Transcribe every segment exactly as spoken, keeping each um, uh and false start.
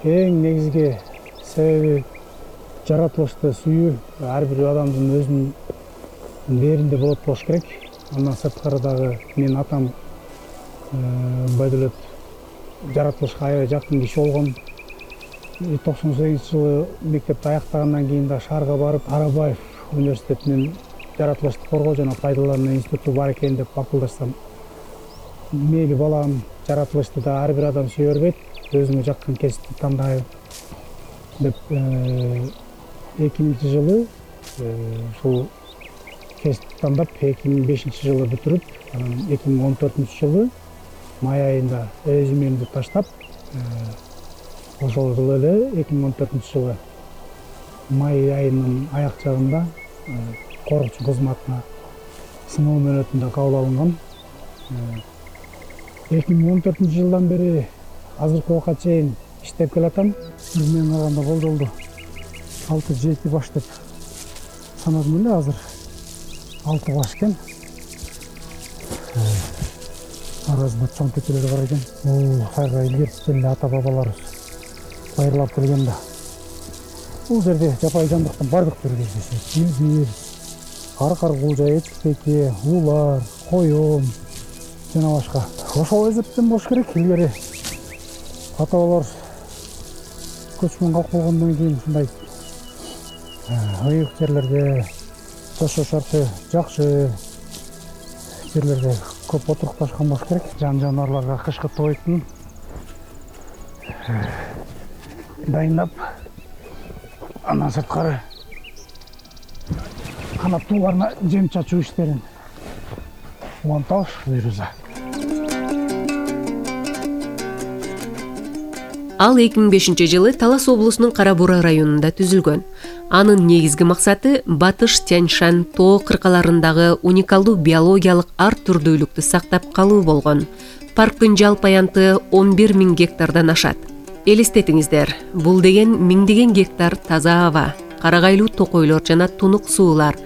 эң негизги себеби жаратылышты сүйүү. Ар бир адамдын өзүнүн дээринде болот болуш керек. Андан сырткары дагы менин атам баягы эле жаратылышка аябай жакын киши болгон. токсон сегизинчи жылы мектепти аяктагандан кийин да шаарга барып, Арабаев университетинин жаратылышты коргоо жана пайдалануу институту бар экен деп бакылдашсам, мейли балам, жаратылышты да ар бир адам сүйө бербейт, өзүңө жаккан кесипти тандайбы деп эки миңинчи жылы ушул кесипти тандап эки миң бешинчи жылы бүтүрүп, анан эки миң он төртүнчү жылы май айында өз эмемди таштап, ошол жылы эле эки миң он төртүнчү жылы май айынын аяк жагында корукчу кызматына сыноо мөөнөтүндө кабыл алынган. эки миң он төртүнчү жылдан бери азыркы убакка чейин иштеп келатам. Мен калганда болжолду алты жети баш деп санадым эле, азыр алты баш экен. Арасында чоң кетелер бар экен. Бул сайга илгертиптен эле ата бабаларыбыз байырлап келген да. Бул жерде жапайы жандыктын бардык түрү кездешет. Илбир, кар-каргулжа, этик-теке, улар, коён жана башка. Ошол эсептен болуш керек. Илгери ата бабалар көчмөн калп болгондон кийин ушундай ыйык жерлерде, жашоо шарты жакшы жерлерде көп отурукташкан болуш керек. Жан жаныбарларга кышкы тойтун дайындап, андан сырткары канаттууларына жем чачуу иштерин монтаж буюрса. Ал эки миң бешинчи жылы Талас облусунун Кара Буура районунда түзүлгөн. Анын негизги максаты Батыш Тянь-Шань тоо кыркаларындагы уникалдуу биологиялык ар түрдүүлүктү сактап калуу болгон. Парктын жалпы аянты он бир миң гектардан ашат. Элестетиңиздер, бул деген миңдеген гектар таза аба, карагайлуу токойлор жана тунук суулар.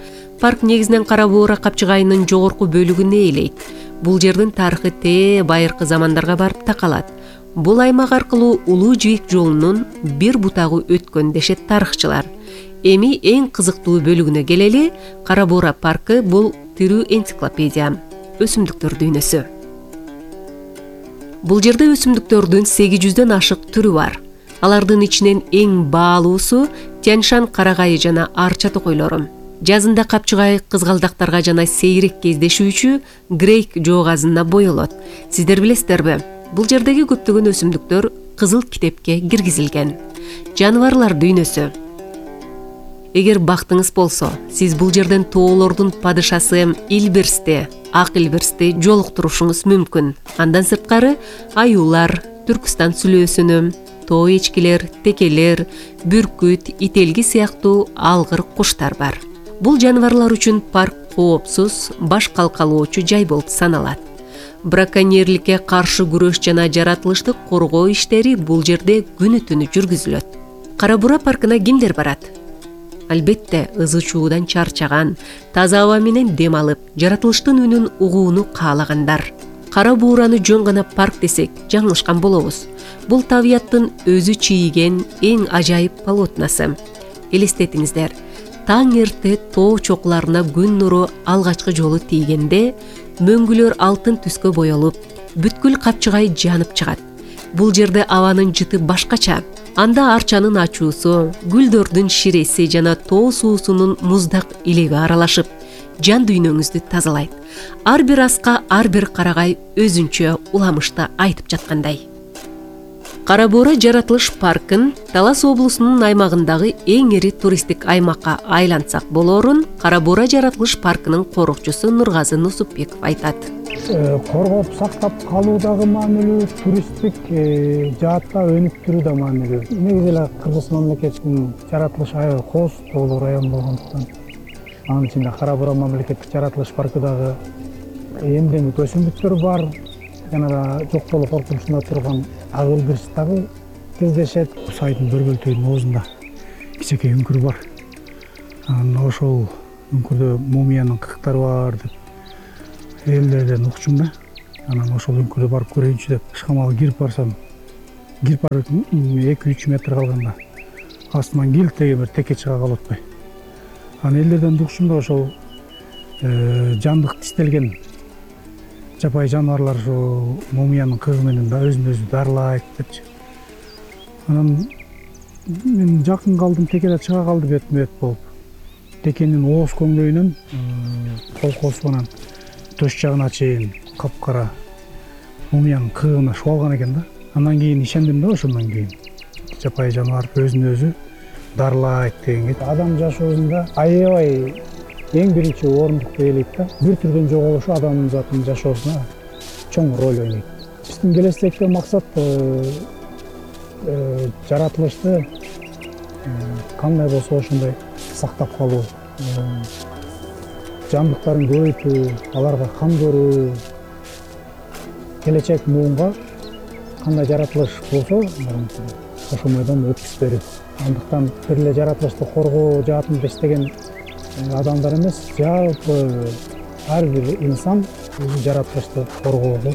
Парк негизинен Кара Буура капчыгайынын жогорку бөлүгүн ээлейт. Бул жердин тарыхы тээ байыркы замандарга барып такалат. Бул аймак аркылуу Улуу Жибек жолунун бир бутагы өткөн дешет тарыхчылар. Эми эң кызыктуу бөлүгүнө келели, Кара Буура паркы бул тирүү энциклопедия, өсүмдүктөр дүйнөсү. Бул жерде өсүмдүктөрдүн сегиз жүздөн ашык түрү бар. Алардын ичинен эң баалуусу Тянь-Шань карагайы жана арча токойлору. Жазында капчыгай кызгалдактарга жана сейрек кездешүүчү грейк жоогазына боелот. Сиздер билесиздерби? Бул жердеги көптөгөн өсүмдүктөр кызыл китепке киргизилген. Жаныбарлар дүйнөсү. Эгер бактыңыз болсо, сиз бул жерден тоолордун падышасы Илбирсти, ак илбирсти жолуктурушуңуз мүмкүн. Андан сырткары аюулар, Түркүстан сүлөөсүнү, тоо эчкилер, текелер, бүркүт, ителги сыяктуу алгыр куштар бар. Бул жаныбарлар үчүн парк коопсуз, баш калкалоочу жай болуп саналат. Браконьерликке каршы күрөш жана жаратылышты коргоо иштери бул жерде күнү-түнү жүргүзүлөт. Кара Буура паркына кимдер барат? Албетте, ызы чуудан чарчаган, таза аба менен дем алып, жаратылыштын үнүн угууну каалагандар. Кара Буураны жөн гана парк десек, жаңылышкан болобуз. Бул табияттын өзү чийген эң ажайып полотнасы. Элестетиңиздер, таң эрте тоо чокуларына күн нуру алгачкы жолу тийгенде, мөңгүлөр алтын түскө боелуп, бүткүл капчыгай жанып чыгат. Бул жерде абанын жыты башкача. Анда арчанын ачуусу, гүлдөрдүн ширеси жана тоо суусунун муздак илеги аралашып, жан дүйнөңүздү тазалайт. Ар бир аска ар бир карагай өзүнчө уламышты айтып жаткандай. Кара Буура жаратылыш паркын Талас облусунун аймагындагы эң ири туристтик аймакка айлантсак болоорун Кара Буура жаратылыш паркынын корукчусу Нургазы Нусупбеков айтат. Коргоп сактап калуу дагы маанилүү, туристтик жаатта өнүктүрүү да маанилүү. Негизи эле Кыргыз мамлекетинин жаратылыш аябай кооз тоолуу район болгондуктан, анын ичинде Кара Буура мамлекеттик жаратылыш паркы дагы эмдемик өсүмдүктөр бар, жана да жок болуу коркунучунда турган ак илбирс дагы кездешет. Сайдын бир бөлтөгүнүн оозунда кичинекей үңкүр бар. Анан ошол үңкүрдө мумиянын кыктары бар деп элдерден укчум да. Анан ошол үңкүрдө барып көрөйүнчү деп шамалы кирип барсам, кирип барып эки үч метр калганда астынан килтеге бир теке чыга калып атпайбы. Анан элдерден угушумда ошол жандык тиштелген жапайы жаныбарлар ушу мумиянын кыгы менен да өзүн өзү дарылайт депчи. Анан мен жакын калдым, теке да чыга калды бетме бет болуп. Текенин ооз көңдөйүнөн колкосу менен төш жагына чейин капкара мумиянын кыгына шубалган экен да. Андан кийин ишендим да, ошондон кийин жапайы жаныбар өзүн өзү дарылайт дегенге. Адам жашоосунда аябай эң биринчи орундукту ээлейт да. Бир түрдөн жоголушу адамдын затынын жашоосуна чоң роль ойнойт. Биздин келечектеги максат жаратылышты кандай болсо ошондой сактап калуу, жандыктарын көбөйтүү, аларга кам көрүү, келечек муунга кандай жаратылыш болсо ошомойдон өткүзүп берүү. Андыктан бир эле жаратылышты коргоо жаатында иштеген адамдар эмес, жалпы ар бир инсан өзү жаратылышты коргоого